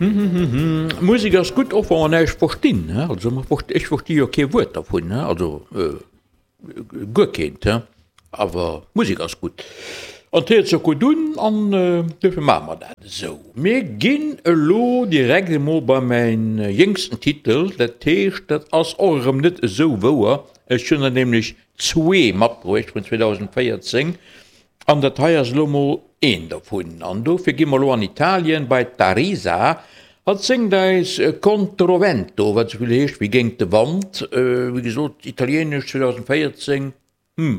Musek ass gutt, och wa mer näischt verstinn. Also ech versti jo kee Wuert dervun, also guer keent, awer d'Musek ass gutt an d'héiert sech gutt un an duerfir maache mer dat esou. Mir ginn elo direkt emol bei mäin jéngsten Titel, dat heescht, dat ass och erëm net esou wouer, ech hunn der nämlech zwee matbruecht vun 2014 An dat hei ass elo mol een dovun. An dofir gi mer elo an Italien bei d'Arisa. Hatt séngt eis Controvento, wat esou vill heescht wéi géint de Wand. Wéi gesot, italieenesch 2014, hm.